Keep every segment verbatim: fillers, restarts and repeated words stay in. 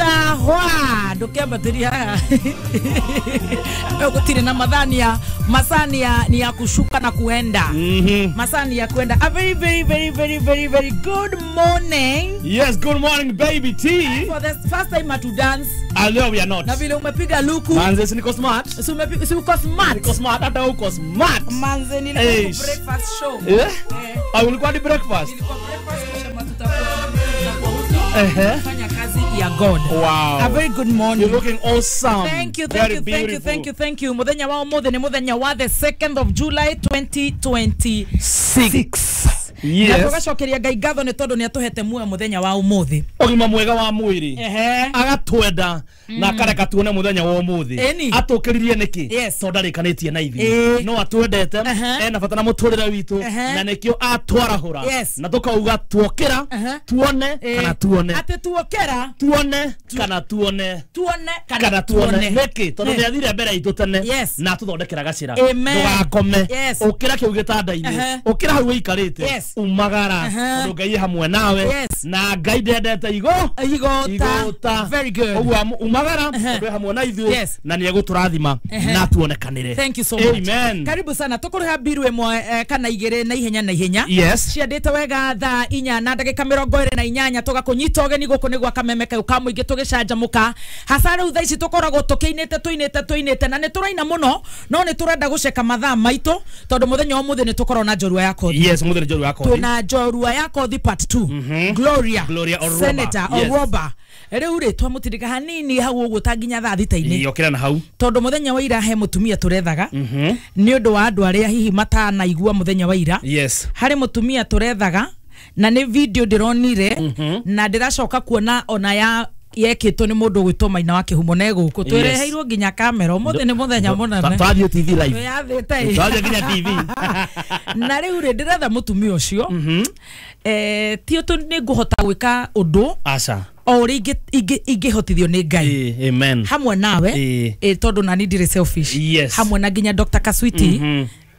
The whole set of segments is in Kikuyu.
Thahwa ndukiambatiria gutire na mathania masania ni ya kushuka na kuenda. Mm-hmm. Masani ya kuenda. A very very very very very very good morning. Yes, good morning baby T. For the first time to dance. I know we are not. Na vile umepiga luku. Manze si niko smart. Si umepiga si uko smart. Niko smart hata uko smart. Manze nilikuwa breakfast show. Eh? Eh. Ah, ulikuwa di breakfast? Nilikuwa breakfast kisha tutakuwa tutakuwa fanya kazi ya God. Wow. A very good morning. You're looking awesome. Thank you, thank very you, thank you, thank you, thank you. Muthenya wa umuthi ni muthenya wa the second of July twenty twenty-six. Yes. Na tugacokeria Ngai ngatho ni tondu ni atuhete muoyo muthenya wa umuthi. Ugima mwega wa mwiri. Ehe. Agatwenda na akareka tuone muthenya wa umuthi. Atukiririe niki? Tondu ndarikanitie na ithuĩ. No atwendete ena bata na muturire witu na nikio atwarahura. Na tukauga tuokira tuone kana tuone. Ati tuokera tuone kana tuone. Tuone kana tuone. Niki? Tondu ni athire mbere itu tene na atuthondekera gacira. Ndugakome. Ukira kiu gitanda-ini. Ukira hau wikarite. Umagara tondu Ngai hamwe nawe na Ngai ndendete igo igota. Very good. Uguo umagara tondu hamwe na ithuĩ na ni eguturathima na tuonekanire. Thank you so much. Amen. Karibu sana tukuriha mbiru imwe kana igiri na ihenya na ihenya. Yes. Ciandite wega thaa inya na ndagika mirongo iri na inyanya tugakunyita ugeni guku ni gwa Kameme kau ka muingi tugicanjamuka hasa riu thaa ici tukoragwo tukiinite tuinite tuinite na ni turaina muno no ni turenda guceka mathaa maitu tondu muthenya umuthi ni tukorwo na njorua ya kothi. Yes, muthenya njorua ya kothi. Tuna njorua ya kothi part two. Mm-hmm. Gloria Gloria Oroba. Senator Oroba. Riu ri twamutindika hanini hau uguo ta nginya thaa thita-ini. Yokira na hau tondu muthenya wa ira he mutumia turethaga ni undu wa andu aria hihi matanaigua muthenya wa ira. Yes. Hari mutumia turethaga na ni video ndironire mm -hmm. na ndiracoka kuona ona ya yekitwo ni mundu gwitwo Maina wa Kihumo ne guku twereheirwo nginya kamera umuthi ni muthenya munene twathie T V live twathite twathie nginya T V na riu ri ndiretha mutumia ucio eh ti utu ni nguhota gwika undu aca o uri ingihotithio ni Ngai. Amen. Hamwe nawe eh tondu nani ndiri selfish. Yes. Hamwe na nginya Doctor Kaswiti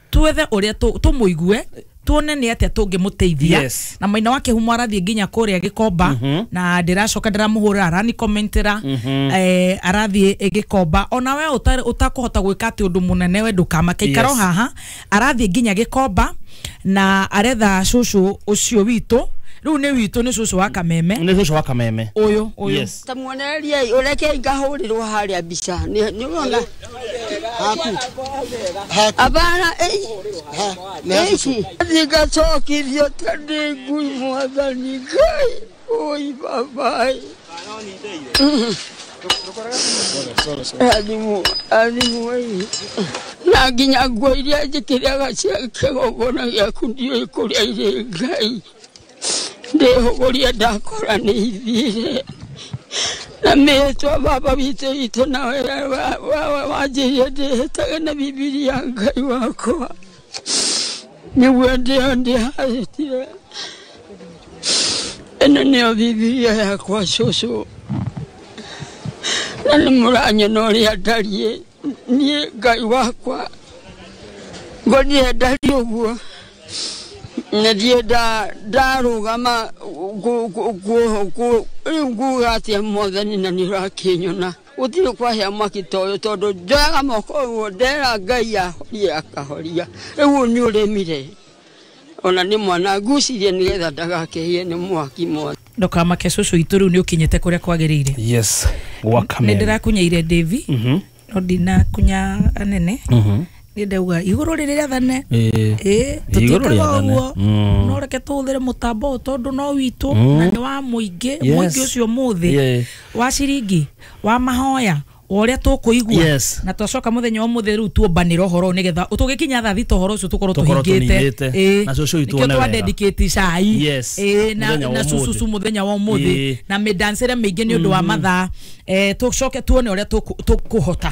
twethe uria tumuigue tuone ni atia tungimuteithia. Yes. Na Maina wa Kihumo arathie nginya kuria Gikomba. mm -hmm. Na ndiracoka ndiramuhurira arani commentera. mm -hmm. Eh arathie Gikomba ona we utakuhota gwika ati undu munene we ndukamake ikaro. Yes. Haha arathie nginya Gikomba na aretha cucu ucio witu riu ni witu ni cucu wa Kameme ni cucu wa Kameme uyu uyu. Yes. Tamuonererie ureke ngahurirwo haria mbica ni urona haku haku abana eh ha thingacokithio ta ndĩ ngui mwathani Ngai oi babai alimu alimu na nginya nguo iria njĩkĩraga cia kĩgongona gĩaku ndiũĩ kũrĩa irĩ Ngai ndĩhũgũria ndakora nĩ ithire na mĩtwa baba witũ witũ nawe wanjĩrie ndĩhĩtage na Bibilia Ngai wakwa nĩguo ndĩo ndĩharĩtire ĩno nĩyo Bibilia yakwa cũcũ na nĩ mũranyona ũrĩa ndariĩ niĩ Ngai wakwa ngoniĩ ndariĩ ũguo na ndiĩ ndarũgama rĩu nguga atĩa mwathani na nĩ ũrakĩnyona gũtirĩ kwahĩa mwaki ta ũyũ tondũ njoyaga moko ũguo ndera Ngai ahorie akahoria rĩu ũyũ nĩ ũrĩmire ona nĩ mwana ngucirie nĩgetha ndagakĩhĩe nĩ mwaki mothe. Ndukamake cucu itu riu ni ukinyite kuria kwagiriire. Yes. Gwa Kameme ni ndirakunyaire Devi no ndinakunya anene. Ni ndauga iguru riri rĩathane ĩ tũtiĩkaga ũguo no reke tũhũthĩre mũtambo ũyũ tondũ no witũ na nĩ wa mũingĩ mũingĩ ũcio mũthĩ wa ciringi wa mahoya ũrĩa tũkũigua na twacoka mũthenya wa mũthĩ rĩu tuombanĩre ũhoro nĩgetha tũgĩkinya thaa thita ũhoro ũcio tũkorwo tũhingĩte na cũcũ witũ one wega twa cai ĩ na na cucucu mũthenya wa ũmũthĩ na mĩdancĩre mĩingĩ nĩ ũndũ wa mathaa eh tũcoke tuone ũrĩa tũkũhota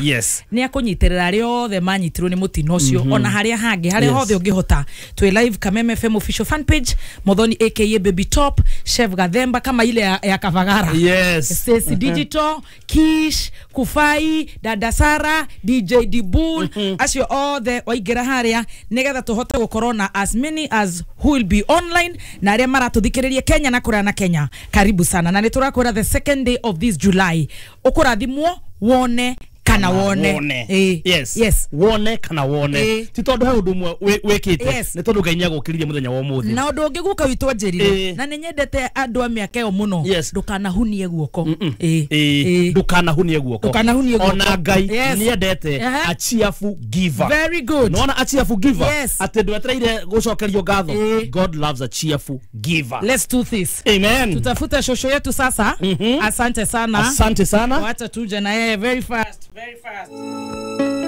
nĩ akũnyitĩrĩra arĩa othe manyitirwo nĩ mũtino ũcio ona harĩa hangĩ harĩa hothe ũngĩhota. Twĩ live Kameme F M official fan page, Muthoni aka Baby Top, Chef Gathemba kama ile ya, ya Kavagara, yes, Stacy Digital, Kish Kufa Pai, Dada Sara, D J Dibul, acio othe waingĩra harĩa nĩgetha tũhote gũkorwo na as many as who will be online na arĩa maratũthikĩrĩria Kenya na kũraya na Kenya. Karibu sana. Na nĩ tũrakwĩra the second day of this July ũkũrathimwo wone kana wone. Wone. Eh. Yes. Yes. Wone kana wone. Eh. Ti tondu he undu umwe wikite, Yes. ni tondu Ngai nĩagũkĩririe mũthenya wa ũmũthĩ. Na ũndũ ũngĩ guka witũ anjĩrire, Eh. na nĩ nyendete andũ a mĩaka ĩyo mũno, Yes. ndũkanahunie guoko. Eh. Eh, Eh. ndũkanahunie guoko. Ndũkanahunie guoko. Ona Ngai Yes. nĩendete Aha. a cheerful giver. Very good. Nĩwona a cheerful giver? Yes. Atĩ ndwetereire gũcokerio ngatho. Eh. God loves a cheerful giver. Let's do this. Amen. Tutafute shosho yetu sasa. Asante sana. Asante sana. Wacha tuje na yeye very fast, very fast.